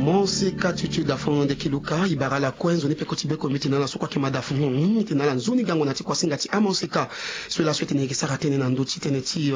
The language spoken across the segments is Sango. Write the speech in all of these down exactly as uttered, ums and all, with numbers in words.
Monseka Tutu Dafon de Kiluka, e bara ala kue nzoni peko ti beko mbi tene na ala so kue ayeke mada funu, mbi tene na ala nzoni gango na ti kuasinga ti amonseka. So laso e tene e yeke sara tënë na ndö ti tënë ti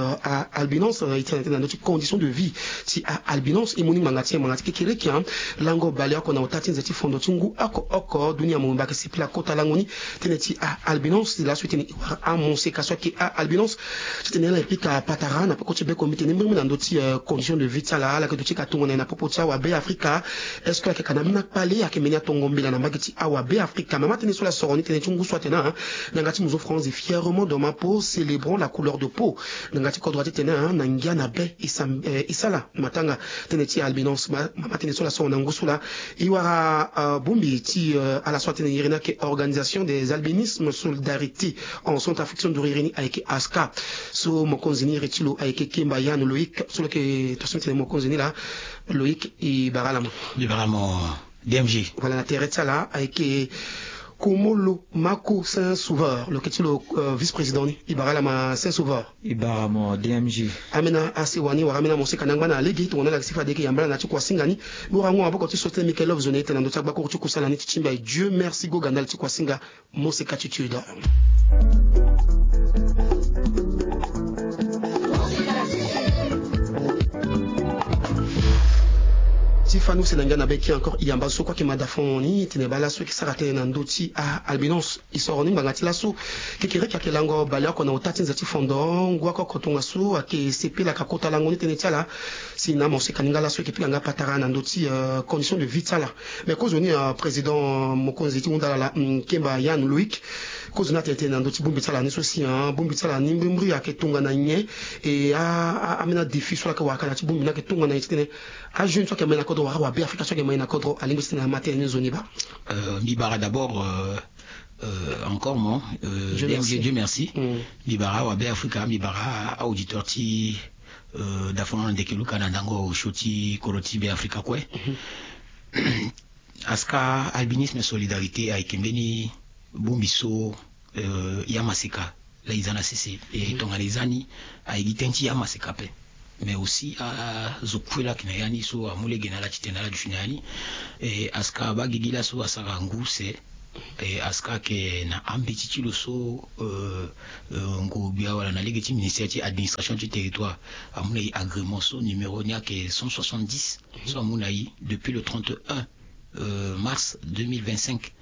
albinos, e tene tënë na ndö ti condition de vie ti albinos. E mu ni ngbanga ti nyen? Ngbanga ti kekereke, lango baleoko na ota ti nze ti fondo ti ngu oko oko dunia mobimba ayeke sepela kota lango ni tënë ti albinos. Laso e tene e wara amonseka so ayeke albinos ti tene ala e pika patara na peko ti beko mbi tene mbirimbiri na ndö ti condition de vie ti ala. Ala yeke duti ka tongana nyen na popo ti awabe afrika? Est-ce que ayeke ka na ambeni akpale? Ayeke mbeni atongo mbela na mbage ti awabe afrika? Me ama tënë so ala soro ni tënë ti ngu so atene na yanga ti muzo France, fièrement de ma peau, célébrons la couleur de peau. Na yanga ti kodro ati tene na ngia na be e sala matanga. Tënë ti albinos, mama tënë so ala soro na ngu so laa. E wara bongbi ti ala so atene iri ni ayeke Organisation des albinismes solidarité en Centrafrique, so nduru iri ni ayeke ASCA. So mokonzi ni iri ti lo ayeke Kemba Yann Loïc, so lo yeke tongaso mbi tene mokonzi ni laa. Loïc, e bara ala ma. Mbi bara mo. D M G. Voilà, na tere ti ala ayeke Komolo Mako Saint Sauveur, lo yeke ti lo vice-président ni. E bara ala ma Saint Sauveur. E bara mo D M G. Ambeni asewa ni wala ambeni amoseka ni angba na lege tongana ala yeke si fade e yeke yamba ala na ya ti kuasinga ni. Lo wara ngu na maboko ti so ti tene Michael Love zo na e tene na ndö ti agbakuru ti kusala ni ti timba e. Dieu merci, go ga ndali ti kuasinga. Monseka Tutu Dafon. Ti fani use na ngia na be ki encore e yamba so kue ayeke mada fon ni tene baa laso e yeke sara tënë na ndö ti albinos. E soro ni ngbanga ti laso kekereke ayeke lango baleoko na ota ti nze ti fondo ngu oko oko tongaso ayeke sepelaka kota lango ni tënë ti ala. Si na amoseka ni nga laso e yeke pika nga patara na ndö ti condition de vie ti ala. Mais kozoni président mokonzi ti hunda ala laa, Kemba Yann Loïc, kozoni atene tënë na ndö ti bongbi ti ala ni so si bongbi ti ala ni mbirimbiri ayeke tongana nyen? E ambeni adéfi so ala yeke wara ka na ya ti bongbi ni ayeke tongana nyen ti tene ajeune so ayeke mai na kodro wala awabe afrika so ayeke mai na kodro alingbi ti tene ama tënë ni nzoni baa? Mbi bara d'abord encore mo, Dieu merci. Mbi bara awabe afrika, mbi bara auditeur ti Dafon Ndeke Luka na ndango osio ti kodro ti Be Afrika kue. ASCA, Albinisme Solidarité, ayeke mbeni bongbi so ya maseka laa e za na sese. E tongana e za ni, aye gi tënë ti ya maseka ape. Mais aussi azo kue laa ayeke na ya ni so amu lege na ala titene ala duti na ya ni. E ASCA abaa gi gi laso asara ngu use. E ASCA ayeke na ambeti ti lo so, euh, euh, ngu gbia wala na lege ti ministère ti administration ti territoire amu na e agrément so numéro ni ayeke cent soixante-dix, so amu na e depuis le trente et un, euh, mars deux mille vingt-cinq.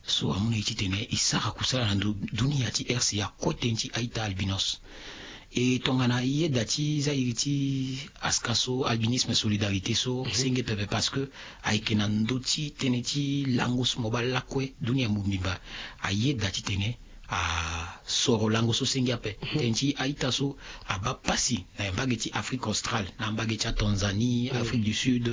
So amu na e titene e sara kusala na ndo dunia ti R C A kue tënë ti a-ita albinos. E tongana e yeda ti za iri ti ASCA so, Albinisme Solidarité so, senge pepe parce que ayeke na ndö ti tënë ti lango so mo baa lakue dunia mobimba ayeda titene asoro lango so senge ape. Tënë ti a-ita so abaa pasi na mbage ti Afrique australe, na mbage ti aTanzanie, Afrique du Sud,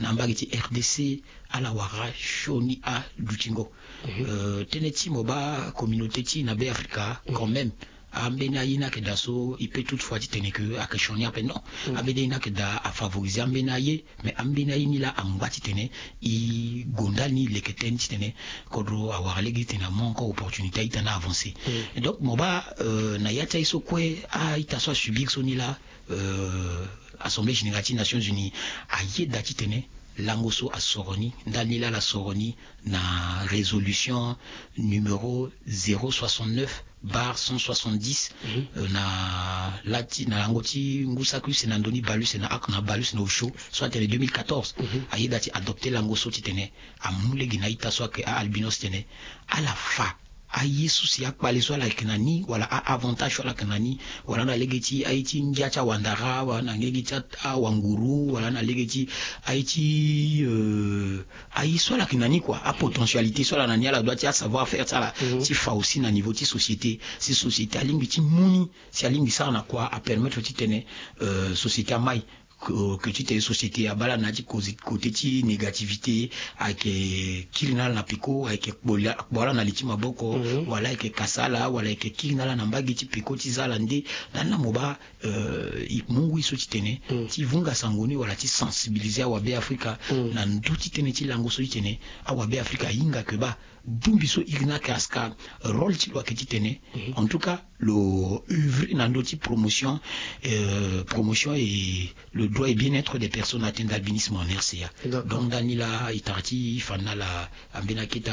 na mbage ti R D C, ala wara sioni adutingo. Euh, tënë ti mo baa communauté ti na Be Afrika quand même, ambeni aye ni ayeke daa so e peut toutefois titene ke ayeke sioni ape, non. Ambeni aye ni ayeke daa afavoriser ambeni aye, mais ambeni aye ni laa angba titene e gonda ni leke tënë titene kodro awara lege titene amu encore opportunité a-ita ni avancer. Et donc mo baa, euh, na ya ti aye so kue a-ita so asubir so ni laa, euh, Assemblée Générale ti Nations Unies ayeda titene lango so asoro ni, ndali ni laa ala soro ni na résolution numéro zéro soixante-neuf barre cent soixante-dix, euh, na la ti, na lango ti ngu saki use na ndoni bale use na oko na bale use na osio so atene deux mille quatorze. Ayeda ti adopter lango so titene amu lege na a-ita so ayeke a-albinos titene ala fa aye so si akpale so ala yeke na ni, wala a-avantage so ala yeke na ni, wala na lege ti aye ti ngia ti awandara, wala na lege ti a, awanguru, wala na lege ti aye ti, euh, aye so ala yeke na ni kua, apotentialité so ala na ni, ala dua ti asavoir faire ti ala ti fa aussi na niveau ti société. Si société alingbi ti mu ni, si alingbi sara na kua, apermettre titene, euh, société amai. Ke, ke titene société abaa ala na ya ti côté, côté ti négativité, ayeke kiri na ala na peko, ayeke kpo la, kpo ala na li ti maboko, wala ayeke kasa ala, wala ayeke kiri na ala na mbage ti peko ti za ala nde. Na ni laa mo baa, euh, e mu ngu e so titene ti vunga sango ni wala ti sensibiliser awabe Afrika na ndö ti tënë ti lango so titene awabe Afrika ahinga ke baa bongbi so iri ni ayeke ASCA, rôle ti lo ayeke titene, en tout cas, lo œuvrer na ndö ti promotion, euh, promotion et le droit et bien-être des personnes atteintes d'albinisme en R C A. Donc ndani laa e tara ti fa na ala ambeni akete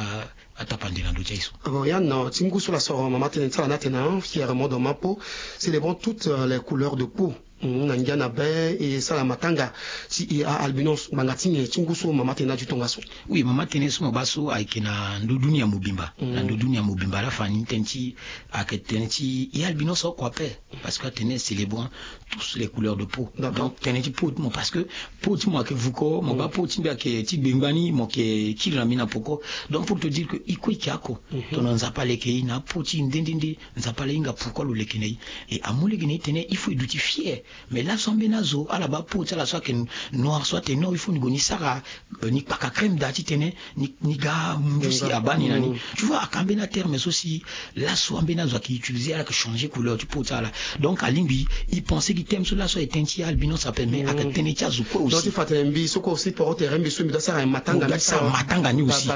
atapande na ndö ti aye so. Bon, Yann, ti ngu so la soro mama tene ti ala na atene, hein, fièrement dans ma peau, célébrons toutes, euh, les couleurs de peau. Hmm, na ngia na be e sara matanga ti e a albinos ngbanga ti nyen ti ngu so mama tene na adutonga so? Oui, mama tene so mo baa so ayeke na ndö dunia mobimba. Na ndö dunia mobimba la fa ni tënë ti ayeke tënë ti e albinos oko ape. Parce que atene célébrons tous les couleurs de peau. Donc tënë ti peau ti mo, parce que peau ti mo ayeke vuko, mo baa peau ti mbi ayeke ti gbengbani, mo yeke kiri na mbi na poko. Donc pour te dire que e kue e yeke oko. Tongana Nzapa aleke e na apeau ti e nde nde nde, Nzapa ala hinga pourquoi lo leke na e. E amu lege na e tene il faut e duti fier. Mais laso ambeni azo ala baa peau ti ala so ayeke noir so atene non, il faut ni gue ni sara, euh, ni kpaka crème daa titene ni, ni ga munzu si abaa ni na ni. Tu vois, ayeke ambeni aterme so si laso ambeni azo ayeke utiliser, ala yeke changer couleur ti peau ti ala. Donc alingbi e pense gi thème so laso ayeke tënë ti albinos ape, mais ayeke tënë ti azo kue aussi. Donc ti fa tene mbi so kue aussi poro tere mbi so mbi doit sara matanga, mbi doit sara matanga ni aussi.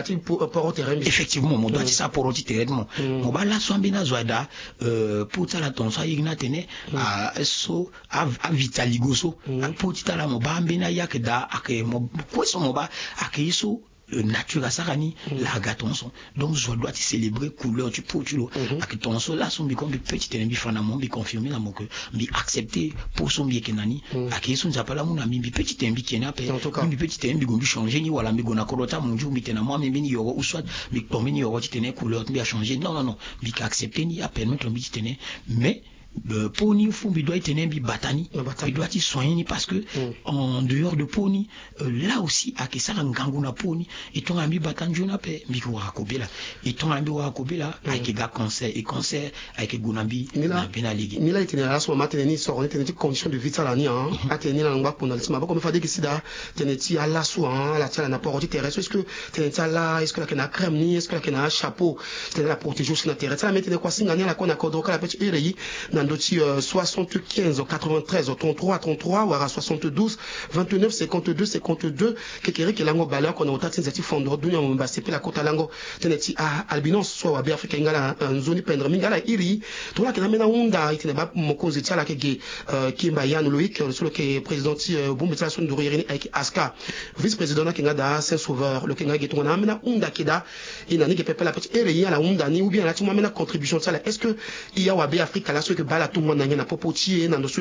Effectivement, mo doit ti sara poro ti tere ti mo. Mo baa laso ambeni azo aye daa, euh, peau ti ala tongaso ayeke ni atene, ah, so a, avitaligo so. Apeau ti tara mo baa ambeni aye ayeke daa, ayeke mo kue so mo baa ayeke ye so, euh, nature asara ni, la aga tongaso. Donc zo adoit ti célébrer couleur ti peau ti lo. Ayeke tongaso laso mbi kue mbi peut titene mbi fa na mo, mbi confirmer na mo que mbi accepter peau so mbi yeke na ni. Ayeke ye so Nzapa ala mu na mbi, mbi peut titene mbi ke ni ape. Mbi peut titene mbi gue mbi changer ni, wala mbi gue na kodro ti amunzu mbi tene na mo ambeni yoro, ou soit mbi kpo mbeni yoro titene couleur ti mbi achanger. Non, non, non. Mbi yeke accepter ni, apermettre mbi titene. Mais euh, peau ni, faut mbi doit ti tene mbi bata ni, mbi doit ti soigner ni, parce que en dehors de peau ni, euh, là aussi ayeke sara ngangu na peau ni. E tongana mbi bata nzoni ape, mbi yeke wara kobela. E tongana mbi wara kobela, ayeke ga cancer. E cancer ayeke gue na mbi na mbeni alege. Ni la e tene laso mama atene ni soro ni tënë ti condition de vie ti ala ni, hein. Atene ni na ngba kpo na li ti maboko, mais fade e yeke si daa tënë ti ala so, hein, ala ti ala na poro ti tere so, est-ce que tënë ti ala, est-ce que ala yeke na acrème ni, est-ce que ala yeke na achapeau titene ala protéger aussi na tere ti ala? Mais tene kua singa ni ala kue na kodro kala pe ti iri e na ndö ti, euh, soixante-quinze quatre-vingt-treize trente-trois trente-trois wala soixante-douze vingt-neuf cinquante-deux cinquante-deux. Kekereke lango baleoko na ota ti nze ti fondo dunia mobimba asepela kota lango tënë ti a albinos so awabe Afrika ahinga ala, euh, nzoni pendre mingi. Ala iri tongana ayeke na ambeni ahunda e tene baa mokonzi ti ala ayeke ge, euh, Kimba Yann Loïc, euh, so lo yeke président ti, euh, bongbi ti ala so nduru iri ni ayeke ASCA. Vice-président ni ayeke nga daa Saint Sauveur, lo yeke nga ge tongana ambeni ahunda ayeke daa, e na ni ge pepe la pe ti iri e ala hunda ni ou bien ala ti mu ambeni acontribution ti ala. Est-ce que e awabe Afrika laso e yeke baa ala tongana nyen na popo ti e na ndo so e